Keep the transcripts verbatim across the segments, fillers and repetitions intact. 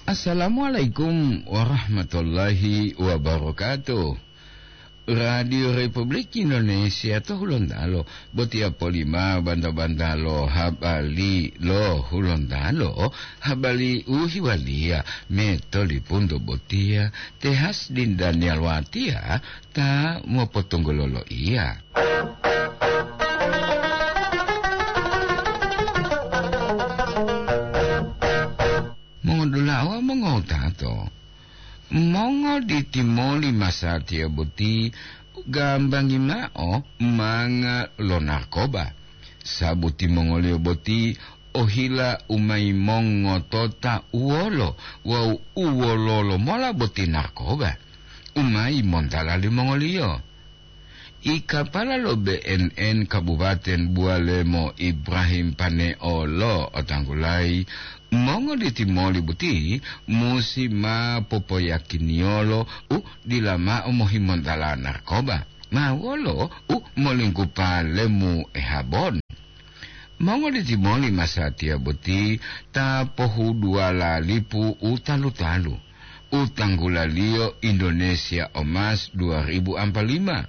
Assalamualaikum warahmatullahi wabarakatuh. Radio Republik Indonesia to Hulontalo, botiya polima banta-banta lo habari lo Hulontalo, habari u hiwaliya metolipunto botiya, te Hasdin Daniel Watiya ta mopotunggulolo iya. Mongodula'a wawu mongowutato, mongoditimoli masatiya boti gambangi mao manga lo narkoba, sabu timongoliyo boti ohila u ma yimongotota uwolo wawu u wololo mola boti narkoba u ma yimontala limongoliyo. I kapala lo B N N Kabupaten Bualemo Ibrahim Paneo lo otanggulayi, mongoditimoli boti musi ma popoyakiniyolo u dila mao mohimontala narkoba, ma wolo u molinggupa lemu ehabon. Mongoditimoli masatiya boti ta pohuduwala lipu u talu-talu, u tanggulaliyo Indonesia Emas dua ribu ampa lima.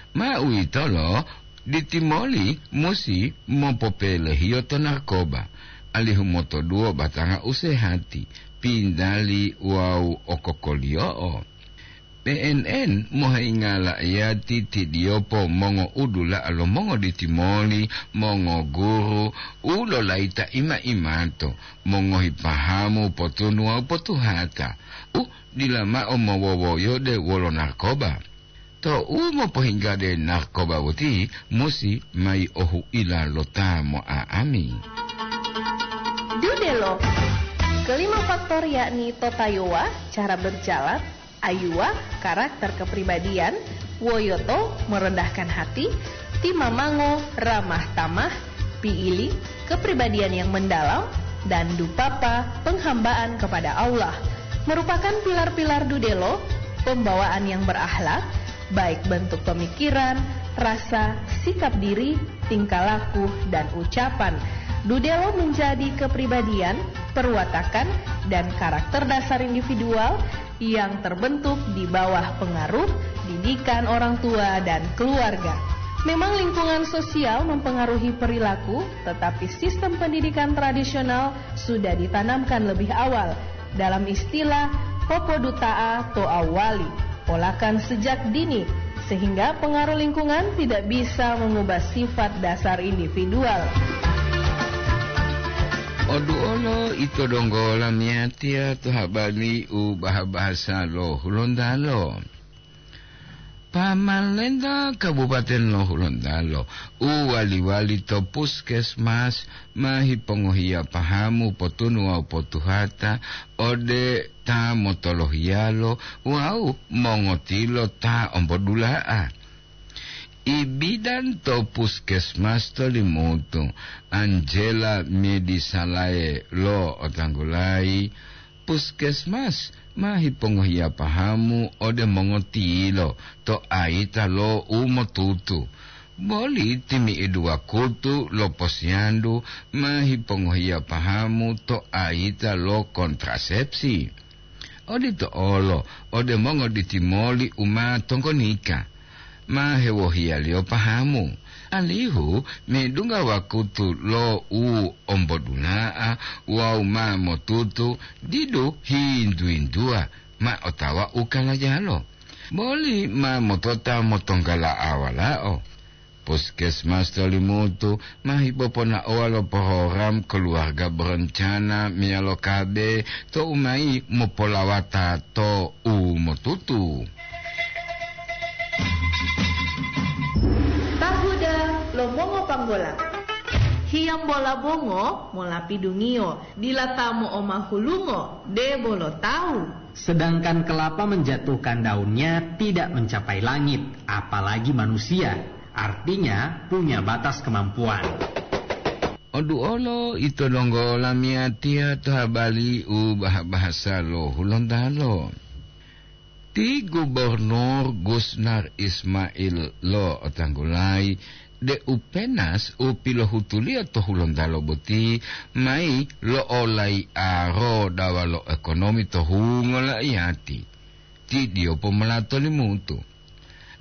Ma uwitolo, ditimoli musi mopopelehiyo to narkoba, alihu motoduwo batanga u sehati, pindali wawu okokoliyo'o. P N N mohingala iyati tidiyopo mongoudula'a lo mongoditimoli mongoguru u lolayita ima-imato, mongohi pahamu potunu wawu potuhata, u dila mao mowowoyode wolo narkoba. To u mopohinggade narkoba boti musi mayi ohuila lo ta mo'a'ami. Dudelo. Kelima faktor yakni totayowa, cara berjalan, ayuwa, karakter kepribadian, woyoto, merendahkan hati, timamango, ramah tamah, piili, kepribadian yang mendalam, dan dupapa, penghambaan kepada Allah, merupakan pilar-pilar dudelo, pembawaan yang berakhlak, baik bentuk pemikiran, rasa, sikap diri, tingkah laku, dan ucapan. Dudelo menjadi kepribadian, perwatakan, dan karakter dasar individual yang terbentuk di bawah pengaruh didikan orang tua dan keluarga. Memang lingkungan sosial mempengaruhi perilaku, tetapi sistem pendidikan tradisional sudah ditanamkan lebih awal. Dalam istilah, popoduta'a to awali, polakan sejak dini, sehingga pengaruh lingkungan tidak bisa mengubah sifat dasar individual. Oduolo ito donggo lamiyatiya to habari u baha-bahasa lo Hulontalo. Pamalenta Kabupaten lo Hulontalo u wali-wali to puskesmas ma hipongohiya pahamu potunu wawu potuhata ode ta motolohiyalo wawu mongotilo ta ombodula'a. Ibidan to puskesmas to Limutu, Angela Medisalae lo otanggulayi, puskesmas ma hipongohiya pahamu ode mongotilo to ayita lo u motutu. Boli timi'idu wakutu lo posiyandu ma hipongohiya pahamu to ayita lo kontrasepsi. Odito olo ode mongoditimoli u ma tonggonika, ma hewohiyaliyo pahamu, alihu medungga wakutu lo u ombodula'a wawu ma motutu didu hintu-hintuwa ma otawa u kalajalo, boli ma motota motonggala'a walao. Puskesmas to Limutu ma hipoponaowa lo program Keluarga Berencana meyalo K B to u mayi mopolawata to u motutu. Tahuda lo mongopanggola. Hiyambola bongo molapidungiyo, dila ta mo'omahulungo, debo lo tawu. Sedangkan kelapa menjatuhkan daunnya tidak mencapai langit, apalagi manusia. Artinya, punya batas kemampuan. Oduolo ito donggo lamiyatiya to habari u baha-bahasa lo Hulontalo. Ti Gubernur Gusnar Ismail lo otanggulayi deu penas u pilohutuliyo to Hulontalo boti mayi lo'olai'aro dawa lo ekonomi to hungo laiyati, ti diyo pomolato limutu.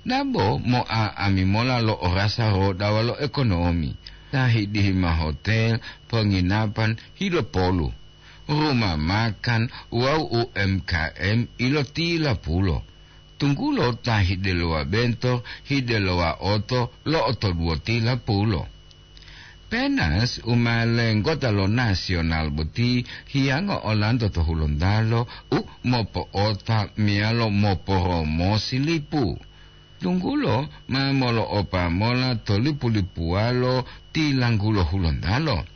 Dabo mo'a'ami mola lo orasa rodawa lo ekonomi, ta hidihi ma hotel, ponginapan, hilopolu, ruma makan wawu U M K M ilotilapulo, tunggulo ta hidelowa bento, hidelowa oto lo'otoduwotilapulo. Penas u ma lenggota lo nasional boti hiyango olanto to Hulontalo u mopo'ota meyalo moporomosi lipu. Tunggulo ma molo'opa mola to lipu-lipuwalo tilanggulo Hulontalo.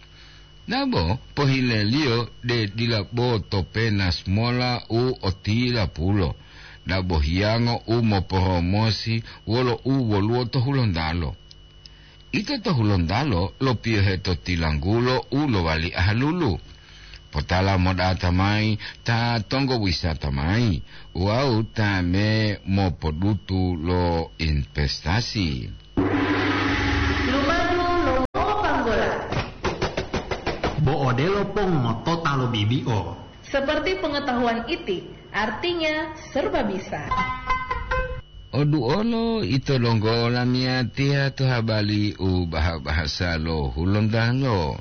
Dabo pohileliyo de dila bo to penas mola u otilapulo, dabo hiyango u moporomosi wolo u woluwo to Hulontalo. Ito to Hulontalo lopiyohe to tilanggulo u lowali ahalulu. Potala modata mayi ta tonggo wisata mayi wawu ta me mopodutu lo investasi. Lumadu lo mopanggola. Bo odelo pong motota lo bibi'o. Seperti pengetahuan iti, artinya serba bisa. Oduolo ito donggo lamiyatiya to habali u baha-bahasa lo Hulontalo.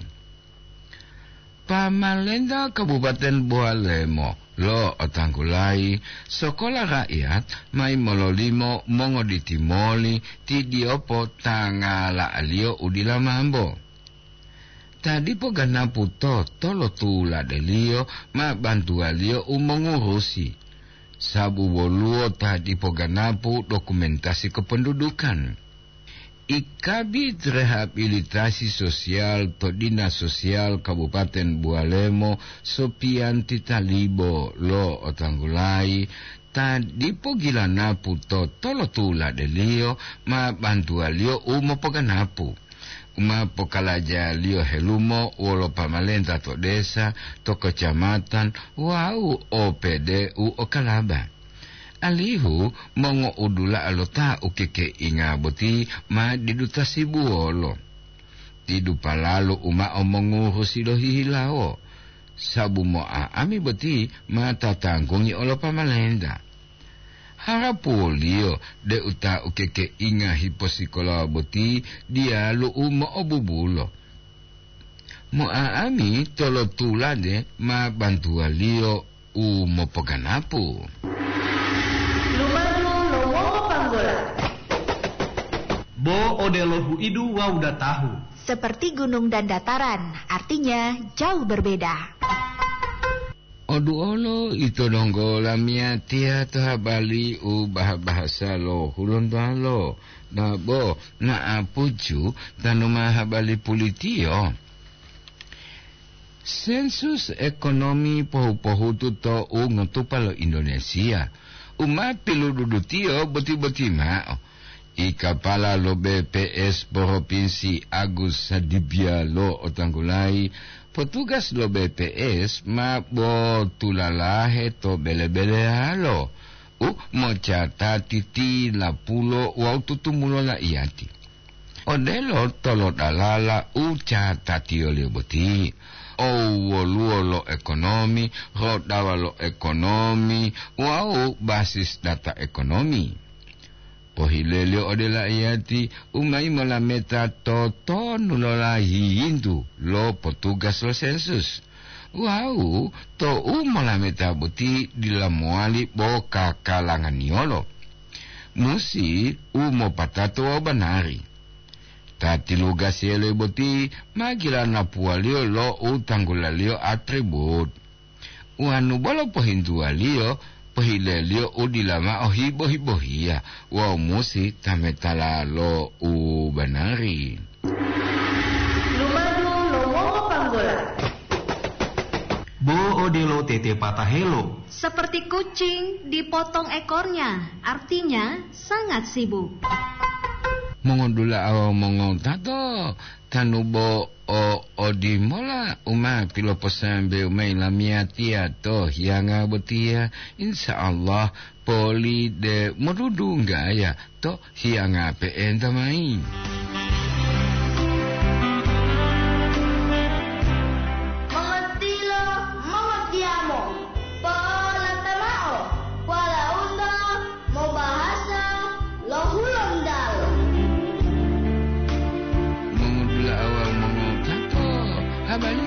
Pamalenta Kabupaten Bowalemo lo'otanggulayi sokola raiyat mayi mololimo mongoditi moli ti diyopo ta ngala'aliyo u dila mambo. Ta dipo ganapu to tolotuladeliyo ma bantuwaliyo u mongurusi, sabu woluwo ta dipo ganapu dokumentasi kependudukan. I Kabid Rehabilitasi Sosial to Dinas Sosial Kabupaten Buwalemo, Sopiyanti Talibo lo'otanggulayi, ta dipo gilanapu to tolotuladeliyo ma bantuwaliyo u mopoganapu, u ma pokalajaliyo helumo wolo pamalenta to desa, to kecamatan wawu O P D u okalaba. Alihu mongo'udula'a lo ta ukekeinga boti ma didu tasibuwolo. Didu palalu u mao mongurusi lohihilawo, sabu mo'a'ami boti ma tatanggungi olo pamalenta. Harapuwoliyo deu ta ukekeinga hiposikolawa boti diyalu u mo'obubulo. Mo'a'ami tolotulade ma bantuwaliyo u mopoganapu. Lumadu lo mongopanggola. Bo odelo huidu wawu datahu. Seperti gunung dan dataran, artinya jauh berbeda. Oduolo ito donggo lamiyatiya to habali u baha-bahasa lo Hulontalo, nabo na'apuju tanu ma habali pulitiyo. Sensus ekonomi pohu-pohutu to u ngotupa lo Indonesia, u ma pilududutiyo boti-boti mao. I kapala lo B P S Propinsi Agus Sadibia lo'otanggulayi, potugas lo B P S ma botulalahe to bele-beleyalo u mocatati tilapulo wawu tutumulo laiyati. Odelo tolodalala u catatiyoliyo boti, owoluwo lo ekonomi, rodawa lo ekonomi, wawu basis data ekonomi. Pohileliyo ode laiyati u mayi molameta to tonu lo layiyintu lo potugas lo sensus. Wawu tou molameta boti dila mowali bo kakalanganiyolo. Musi u mopatato wawu banari. Ta tilugasiyolo boti ma gilanapuwaliyo lo u tanggulaliyo atribut. Wonu bolo pohintuwaliyo, pohileliyo u dila mao hibo-hibohiya wawu musi tametala lo u banari. Lumadu lo mongopanggola. Bo odelo tete patahelo. Seperti kucing dipotong ekornya, artinya sangat sibuk. Mongodula'a wawu mongotato, tanu bo o odimola u ma piloposambewu mayi lamiyatiya to hiyanga botiya, insya Allah poli de modudunggaya to hiyanga pe'enta mayi.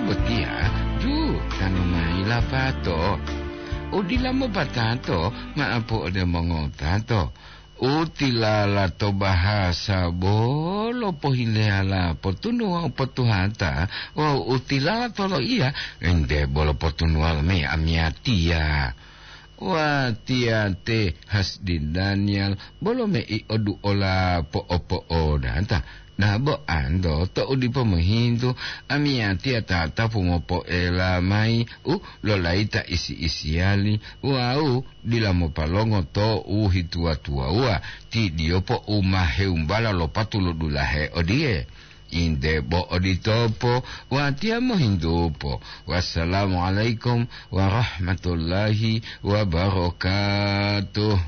Botiya ju tanu mayi lapato. Udila mopatato ma'apu ode mongotato. Utilala to bahasa bolo pohileyala potunuwa u potuhata wawu utilala to loiya ente bolo potunuwa lo me amiyatiya. Watiya te Hasdi Daniel bolo mei oduola po'opo'odata. Dabo anto to'u dipo mohintu, amiyatiya tatapu mopoela mayi u lolayita isi-isiyali wawu dila mopalongo to'u hituwa-tuwawuwa, ti diyopo u ma hewumbala lo patu lo dulahe odiye. Inde bo oditopo, watiya mohintupo. Wassalamualaikum warahmatullahi wabarakatuh.